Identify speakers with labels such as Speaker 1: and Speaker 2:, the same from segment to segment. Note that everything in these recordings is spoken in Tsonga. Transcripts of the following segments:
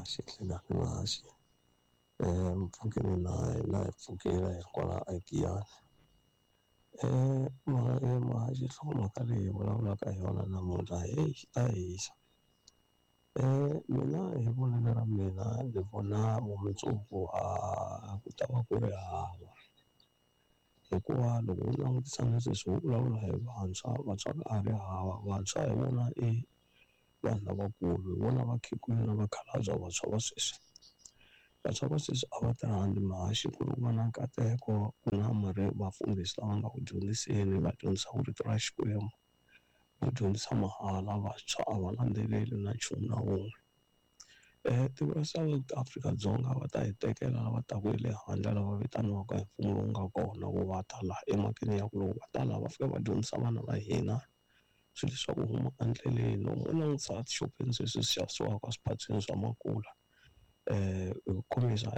Speaker 1: Muhaxi, nhlikani Muhaxi. Mpfhukeni na hina hi pfukile hi kwala eGiyani. Muhaxi nhlokomhaka leyi hi vulavulaka hi yona namuntlha heyi ta hisa. Mina hi vonelo ra mina ni vona vumundzuku a ku ta va ku ri hava hikuva loko u langutisa na sweswi ho vulavula hi vantshwa, vantshwa ka ha ri hava vantshwa hi vona i vanhu lavakulu hi vona vakhegula na vakhalabya vantshwa va sweswi. Vantshwa va sweswi a va ti rhandzi muhaxi ku ri ku va na nkateko ku na vafundhisi lava nga ku dyondziseni va dyondzisaka rito ra Xikwembu va dyondzisa mahala vantshwa a va landzeleli na nchumu na wun'we. Tiko ra South Afrika-Dzonga va ta hi tekela lava taka hi le handle lava vitaniwaka hi mfumo lowu nga kona ku va ta laha emhakeni ya ku loko va ta laha va fika va dyondzisa vana va hina swilo swa ku huma endleleni. Loko u langutisa etixopeni sweswi swi xavisiwaka eswiphatseni swa makula hi ku khomisa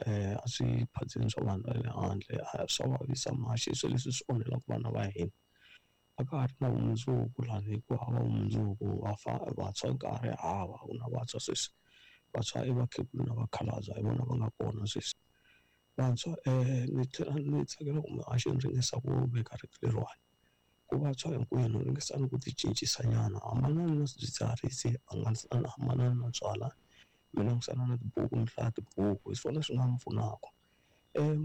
Speaker 1: a swiphatseni swa vanhu va le handle swa vavisa muhaxi swilo leswi swi onhelaka vana va hina. A ka ha ri na vumundzuku lani ku hava vumundzuku vantshwa ka ha ri hava a ku na vantshwa sweswi vantshwa i vakhegula na vakhalabya hi vona va nga kona sweswi. Vantshwa ni tlhela ni tsakela ku muhaxi ni ringesa ku veka rito leriwani ku vantshwa hinkwenu ringesani ku ti cincisa nyana hambanani na swidzidziharisi hambanani na byalwa mi langutisana na tibuku mi hlaya tibuku hi swona swi nga mi pfunaka.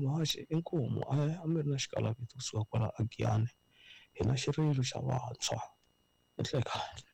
Speaker 1: Muhaxi inkomu a mi ri na xikalavito kusuka kwala a Giyani hi na xirilo xa vantshwa. Nhlikani.